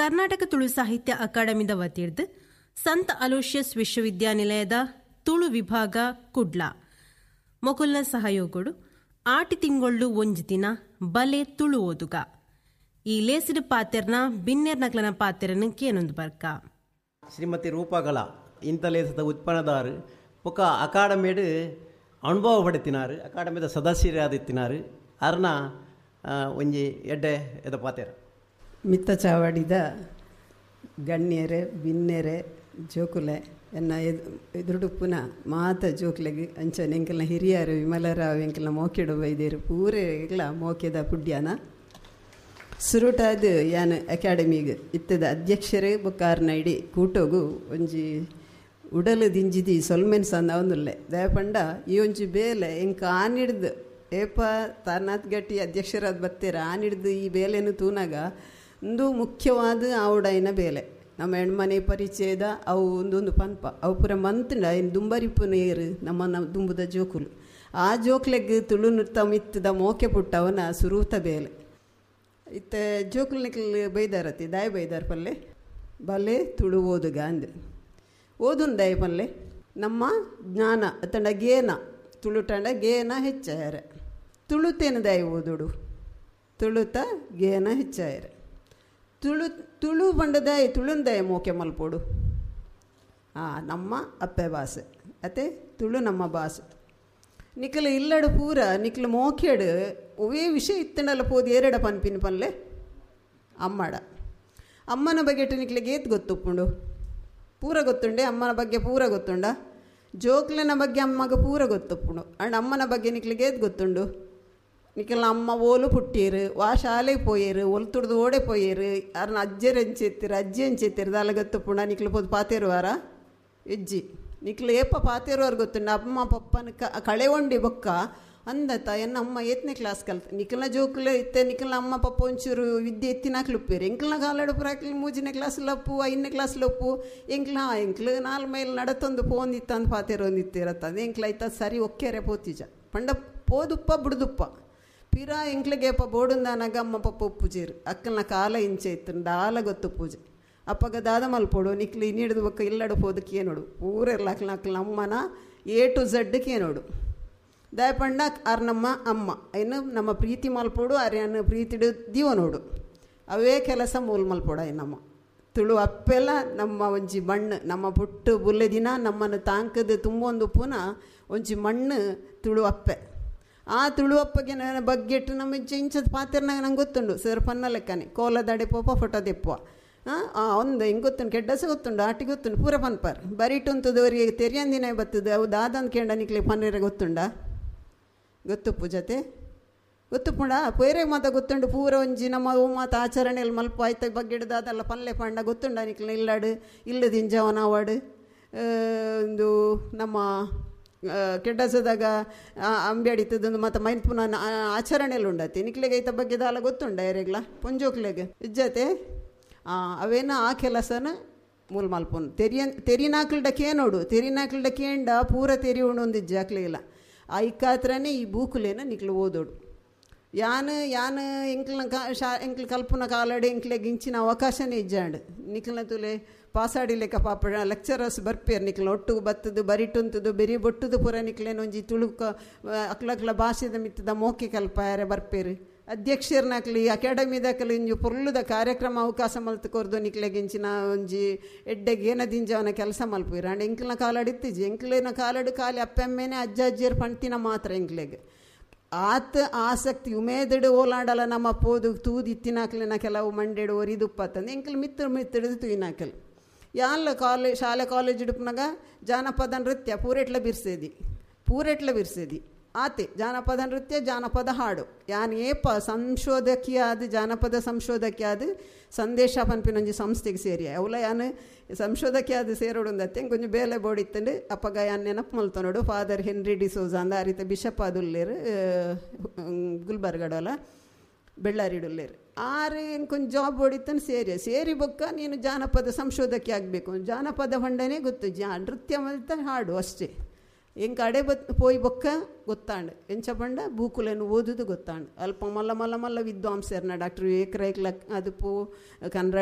ಕರ್ನಾಟಕ ತುಳು ಸಾಹಿತ್ಯ ಅಕಾಡೆಮಿದ ವತಿರ್ದ್ ಸಂತ ಅಲೋಷಿಯಸ್ ವಿಶ್ವವಿದ್ಯಾನಿಲಯದ ತುಳು ವಿಭಾಗ ಕುಡ್ಲ ಮೊಕುಲ್ನ ಸಹಯೋಗಡು ಆಟಿ ತಿಂಗೊಳ್ಳು ಒಂಜಿ ದಿನ ಬಲೆ ತುಳು ಓದುಗ ಈ ಲೇಸಿಡ್ ಪಾತೆರ್ನ ಬಿನ್ನೆರ್ನಕ್ಲನ ಪಾತೆರನ್ನು ಕೇನೊಂದು ಬರ್ಕ. ಶ್ರೀಮತಿ ರೂಪಕಲಾ ಇಂತಲೇಸದ ಉತ್ಪನ್ನದಾರು ಬೊಕ್ಕ ಅಕಾಡೆಮಿಡ್ ಅನುಭವ ಪಡೆತಿನಾರು, ಅಕಾಡೆಮಿದ ಸದಸ್ಯರಾದಿತ್ತಿನಾರು. ಅರ್ನ ಒಂಜಿ ಎಡ್ಡೆ ಎದ ಪಾತೆರ. ಮಿತ್ತ ಚಾವಡಿದ ಗಣ್ಯರೆ ಬಿನ್ನೆರೆ ಜೋಕುಲೆ ಎನ್ನ ಎದುರುಡುಪ್ಪುನ ಮಾತ ಜೋಕುಲೆಗ್ ಅಂಚನೆ ಎಂಕಲ್ನ ಹಿರಿಯರು ವಿಮಲರಾವ್ ಎಂಕಲ್ನ ಮೋಕೆಡು ಬೈದೇರು ಪೂರೆಗ್ಲ ಮೋಕೆದ ಪುಡ್ಯಾನ. ಸುರುಟಾದ ಯಾನ್ ಅಕಾಡೆಮಿಗ್ ಇತ್ತದ ಅಧ್ಯಕ್ಷರೇ ಬೊಕ್ಕಾರ್ನ ಇಡೀ ಕೂಟೋಗು ಒಂಜಿ ಉಡಲು ದಿಂಜಿದಿ ಸೊಲ್ಮೆನ್ ಸಂದವೊಂದುಲ್ಲೆ. ದಯಪಂಡ ಈ ಒಂಜಿ ಬೇಲೆ ಎಂಕ್ ಆನಿಡ್ದು ಏಪ ತಾರನಾಥ್ ಗಟ್ಟಿ ಅಧ್ಯಕ್ಷರಾದ ಬತ್ತೆರ್ ಆನಿಡ್ದು ಈ ಬೇಲೆನು ತೂನಾಗ ಉಂದು ಮುಖ್ಯವಾದ ಆವಡಾಯಿನ ಬೇಲೆ. ನಮ್ಮ ಹೆಣ್ಮನೆ ಪರಿಚಯದ ಅವು ಒಂದೊಂದು ಪನ್ಪ ಅವು ಪೂರ ಮಂತ್ಂಡ ಐನ್ ದುಂಬರಿಪು ನೀರು ನಮ್ಮ ದುಂಬುದ ಜೋಕುಲು. ಆ ಜೋಕ್ಲೆಗ್ ತುಳು ನೃತ್ತ ಮಿತ್ತದ ಮೋಕೆ ಪುಟ್ಟವನ ಸುರೂತ ಬೇಲೆ. ಇತ್ತೆ ಜೋಕುಲು ನಿಕ್ಲ್ ಬೈದಾರತಿ ದಾಯ ಬೈದಾರ ಪಲ್ಲೆ ಬಲೆ ತುಳು ಓದುಗ ಅಂದ್ ಓದುನ್ ದಾಯ ಪಲ್ಲೆ ನಮ್ಮ ಜ್ಞಾನ ಅತ್ತಂಡ ಗೇನ ತುಳುಟಂಡ ಗೇನ ಹೆಚ್ಚಾಯರೆ ತುಳುತೇನು ದಾಯ ಓದುಡು ತುಳುತ ಗೇನ ಹೆಚ್ಚಾಯರೆ ತುಳು ತುಳು ಪಂಡದಾಯ ತುಳುಂದಾಯ ಮೋಕೆ ಮಲ್ಪೋಡು ನಮ್ಮ ಅಪ್ಪೆ ಭಾಷೆ ಅತ್ತೆ ತುಳು ನಮ್ಮ ಭಾಷೆ. ನಿಕ್ಲು ಇಲ್ಲಡು ಪೂರ ನಿಕ್ಲು ಮೋಕೆಡು ಒವೇ ವಿಷಯ ಇತ್ತಂಡಲ್ಲ ಪೋದು ಏರಡ ಪನ್ಪಿನ ಪನ್ಲೆ ಅಮ್ಮಡ ಅಮ್ಮನ ಬಗ್ಗೆ ನಿಕ್ಲಿಗೆ ಏತ್ ಗೊತ್ತುಪ್ಪುಂಡು ಪೂರ ಗೊತ್ತುಂಡೆ ಅಮ್ಮನ ಬಗ್ಗೆ ಪೂರ ಗೊತ್ತುಂಡ ಜೋಕ್ಲೆನ ಬಗ್ಗೆ ಅಮ್ಮಗ ಪೂರ ಗೊತ್ತುಪ್ಪುಂಡು ಅಂಡ್ ಅಮ್ಮನ ಬಗ್ಗೆ ನಿಕ್ಲಿಗೆ ಏತ್ ಗೊತ್ತುಂಡು. ನಿಕ್ಲ ಅಮ್ಮ ಓಲು ಪುಟ್ಟೀರು ವಾ ಶಾಲೆಗೆ ಪೋಯೇರು ಒಲ್ತುಡ್ದು ಓಡೆ ಪೋಯೇರು ಅರ್ನ ಅಜ್ಜೆರ್ ಎಂಚೆತ್ತಿರು ಅಜ್ಜಿ ಎಂಚೆತ್ತಿರು ದಾಲ ಗೊತ್ತುಪ್ಪುಂಡ ನಿಕ್ಲು ಪೋದು ಪಾತೇರುವಾರ ಇಜ್ಜಿ ನಿಕ್ಲು ಏಪ ಪಾತೇರುವಾರ ಗೊತ್ತುಂಡ ಅಮ್ಮ ಪಪ್ಪನ ಕಳೆವಂಡಿ ಬೊಕ್ಕ ಅಂದತ ಎನ್ನ ಅಮ್ಮ ಏತ್ನೇ ಕ್ಲಾಸ್ ಕಲ್ತ ನಿಕ್ಲನ ಜೋಕ್ಲು ಇತ್ತೆ ನಿಕ್ಲನ ಅಮ್ಮ ಪಪ್ಪ ಒಂಚೂರು ವಿದ್ಯೆ ಎತ್ತಿನಾಕ್ಲುಪ್ಪೇರು ಎಂಕ್ಲನ ಕಾಲಡು ಪುರಾಕ್ಲು 3ನೇ ಕ್ಲಾಸ್ ಲಪ್ಪು 5ನೇ ಕ್ಲಾಸ್ ಲಪ್ಪು ಎಂಕ್ಲ ಎಂಕ್ಲು 4 ಮೈಲ್ ನಡತೊಂದು ಪೋಂದಿತ್ತಂದು ಪಾತೇರೊಂದಿತ್ತಿರತ್ತಂದು ಎಂಕ್ಲ ಐತ ಸರಿ ಒಕ್ಕೆರೆ ಪೋತಿಜ ಪಂಡ ಪೋದುಪ್ಪ ಬುಡ್ದುಪ್ಪ ಪಿರ ಎಂಕ್ಲಿಗೇಪ ಬೋಡುಂದಾನಾಗ ಅಮ್ಮ ಪಪ್ಪ ಉಪ್ಪುಜೇರು ಅಕ್ಕಲ್ನ ಕಾಲ ಇಂಚೆ ಇತ್ತು ದಾಲ ಗೊತ್ತು ಪೂಜೆ ಅಪ್ಪಗ ದಾದ ಮಲ್ಪೋಡು ನಿಕ್ಲು ಇನ್ನಿಡ್ದು ಬೊಕ್ಕ ಇಲ್ಲಡು ಪೋದಕ್ಕೆ ಏನೋಡು ಪೂರೆರ್ಲ ಅಕ್ಲ ಅಕ್ಲ ಅಮ್ಮನ ಎ ಟು ಝಡ್ ಕೇನೋಡು ದಯಪಂಡ ಆರ್ ನಮ್ಮ ಅಮ್ಮ ಏನು ನಮ್ಮ ಪ್ರೀತಿ ಮಲ್ಪೋಡು ಆರ್ಯನ ಪ್ರೀತಿಡು ದೀವನೋಡು ಅವೇ ಕೆಲಸ ಮೂಲ ಮಲ್ಪೋಡು ನಮ್ಮ ತುಳು ಅಪ್ಪೆಲ್ಲ ನಮ್ಮ ಒಂಜಿ ಮಣ್ಣು ನಮ್ಮ ಪುಟ್ಟು ಬುಲ್ಲೆ ದಿನ ನಮ್ಮನ್ನು ತಾಂಕದ ತುಂಬೊಂದು ಪುನಃ ಒಂಜಿ ಮಣ್ಣು ತುಳು ಅಪ್ಪೆ. ಆ ತುಳು ಅಪ್ಪಗೆ ನನ್ನ ಬಗ್ಗೆಟ್ಟು ನಮ್ಮ ಇಂಚದ ಪಾತ್ರನಾಗ ನಂಗೆ ಗೊತ್ತುಂಡು ಸರ್ ಪನ್ನ ಲೆಕ್ಕನೆ ಕೋಲದಡೆ ಪೋಪ ಫೋಟೋ ದೆಪ್ಪುವ ಒಂದು ಹಿಂಗೆ ಗೊತ್ತುಂಡು ಕೆಡ್ಡಸ ಗೊತ್ತುಂಡು ಆಟಿ ಗೊತ್ತುಂಡು ಪೂರ ಪನ್ಪಾರ್ ಬರಿಟುಂತದವರಿಗೆ ತೆರಿಯಂದಿನ ಬರ್ತದೆ ಅವು ದಾದಂದು ಕೇಂಡ ನಿಕ್ಲೆ ಪನ್ನೀರ ಗೊತ್ತುಂಡ ಗೊತ್ತುಪ್ಪು ಜೊತೆ ಗೊತ್ತುಪ್ಪುಂಡ ಪೇರೆ ಮಾತ ಗೊತ್ತುಂಡು ಪೂರ ಒಂಜಿ ನಮ್ಮ ಓ ಮಾತ ಆಚರಣೆಯಲ್ಲಿ ಮಲ್ಪ ಆಯ್ತ ಬಗ್ಗೆಡ್ದಾದಲ್ಲ ಪಲ್ಲೆ ಪಂಡ ಗೊತ್ತುಂಡ ನಿಕ್ಲೆ ಇಲ್ಲಾಡು ಇಲ್ಲದಿಂಜವನ ಅವಾಡು ಒಂದು ನಮ್ಮ ಕೆಡ್ಡಸದಾಗ ಅಂಬೆ ಅಡಿತದೊಂದು ಮತ್ತು ಮೈನ್ ಪುನಃ ಆಚರಣೆಯಲ್ಲಿ ಉಂಡತಿ ನಿಕ್ಲೆಗೆ ಐತ ಬಗ್ಗೆ ದಾಲ ಗೊತ್ತುಂಡ ಯಾರಿಗ್ಲ ಪೊಂಜೋಕ್ಲೆಗೆ ಇಜ್ಜತೆ ಅವೇನ ಆ ಕೆಲಸನ ಮೂಲ ಮಲ್ಪೊನು ತೆರಿನಾಕ್ಲ್ಡ ಕೇನೋಡು ತೆರಿನಾಕ್ಲ್ಡ ಕೇಂಡ ಪೂರ ತೆರಿ ಉಂಡು ಇಜ್ಜಾಕ್ಲಿಲ್ಲ ಐಕಾತ್ರನೇ ಈ ಬೂಕುಲೇನ ನಿಕ್ಲು ಓದೋಡು. ಯಾನ್ ಯಾನ್ ಎಂಕ್ಲನ ಶಾ ಎಂಕ್ಲು ಕಲ್ಪುನ ಕಾಲಡು ಎಂಕ್ಲೆಗ್ ಇಂಚಿನ ಅವಕಾಶನೇ ಇಜ್ಜಾಂಡ್ ನಿಕ್ಲನ ತುಲೆ ಪಾಸಾಡಿ ಲೆಕ್ಕ ಪಾಪ ಲೆಕ್ಚರರ್ಸ್ ಬರ್ಪೇರು ನಿಕ್ಲ ಒಟ್ಟು ಬತ್ತದು ಬರಿಟುಂತದು ಬೆರಿ ಬೊಟ್ಟುದು ಪೂರ ನಿಕ್ಲೇನ ಒಂಜಿ ತುಳುಕ ಅಕ್ಲಕ್ಲ ಭಾಷೆದ ಮಿತ್ತದ ಮೋಕೆ ಕಲ್ಪಾಯರೆ ಬರ್ಪೇರು ಅಧ್ಯಕ್ಷರ್ನಾಕ್ಲಿ ಅಕಾಡೆಮಿದಾಕಲಿ ಒಂಜಿ ಪೊರ್ಲುದ ಕಾರ್ಯಕ್ರಮ ಅವಕಾಶ ಮಲ್ತು ಕೊರ್ದು ನಿಕ್ಲೆಗ್ ಇಂಚಿನ ಒಂಜಿ ಎಡ್ಡೆಗ್ ಏನದಿಂಜವನ ಕೆಲಸ ಮಲ್ಪುವೆರ್. ಆಂಡ ಎಂಕ್ಲನ ಕಾಲಡು ಇತ್ತಿಜಿ ಎಂಕ್ಲೆನ ಕಾಲಡು ಖಾಲಿ ಅಪ್ಪೆಮ್ಮೇನೆ ಅಜ್ಜ ಅಜ್ಜಿಯರು ಪಣ್ತಿನ ಮಾತ್ರ ಎಂಕ್ಲೆಗ್ ಆತ ಆಸಕ್ತಿ ಉಮೇದಡು ಓಲಾಡಲ ನಮ್ಮ ಪೋದು ತೂದು ಇತ್ತಿನಾಕ್ಲೆನ ಕೆಲವು ಮಂಡೆಡು ಒರಿದುಪ್ಪತ್ತಂದು ಎಂಕ್ಲು ಮಿತ್ರ ಮಿತ್ತಿಡ್ದು ತೂಯಿನಾಕಲ್ ಯಾನ್ಲ ಕಾಲೇಜ್ ಶಾಲೆ ಕಾಲೇಜ್ ಇಡುಪನಾಗ ಜಾನಪದ ನೃತ್ಯ ಪೂರೆಟ್ಲ ಬಿರ್ಸೇದಿ ಪೂರೆಟ್ಲ ಬಿರ್ಸೇದಿ ಆತೆ ಜಾನಪದ ನೃತ್ಯ ಜಾನಪದ ಹಾಡು ಯಾನ್ ಏಪ ಸಂಶೋಧಕಿಯಾದ ಜಾನಪದ ಸಂಶೋಧಕಿಯಾದ ಸಂದೇಶ ಪನ್ಪಿನೊಂಜಿ ಸಂಸ್ಥೆಗೆ ಸೇರಿ ಅವಲ ಯಾನ್ ಸಂಶೋಧಕಿಯಾದ ಸೇರೋಡುಂದತ್ತೆ ಕೊಂಚ ಬೇಲೆ ಬೋಡಿತ್ತಂಡು ಅಪ್ಪಗ ಯಾನ್ ನೆನಪು ಮಲ್ತೊನೋಡು ಫಾದರ್ ಹೆನ್ರಿ ಡಿಸೋಜಾ ಅಂದ ಆ ರೀತಿ ಬಿಷಪ್ ಆದುಲ್ಲೇರು ಗುಲ್ಬರ್ಗಡೋಲ ಬೆಳ್ಳಾರಿಡುಲ್ಲೇರು ಆರು ಏನು ಕೊಂಚ ಜಾಬ್ ಹೊಡಿತಾನೆ ಸೇರಿ ಸೇರಿ ಬೊಕ್ಕ ನೀನು ಜಾನಪದ ಸಂಶೋಧಕಿ ಆಗಬೇಕು ಜಾನಪದ ಹೊಂಡನೇ ಗೊತ್ತು ನೃತ್ಯ ಮಲ್ತ ಹಾಡು ಅಷ್ಟೇ ಎಂಕ ಅಡೆ ಬತ್ ಪೋಯಿ ಬೊಕ್ಕ ಗೊತ್ತಾಂಡ್ ಎಂಚ ಪಂಡ ಬೂಕುಲೆನ್ ಓದುದು ಗೊತ್ತಾಂಡ್ ಅಲ್ಪ ಮಲ್ಲ ಮಲ್ಲ ಮಲ್ಲ ವಿದ್ವಾಂಸರ್ನ ಡಾಕ್ಟರ್ ವಿವೇಕ್ ರೈಕ್ಲ ಅದು ಪೋ ಕನ್ರಾಡಿ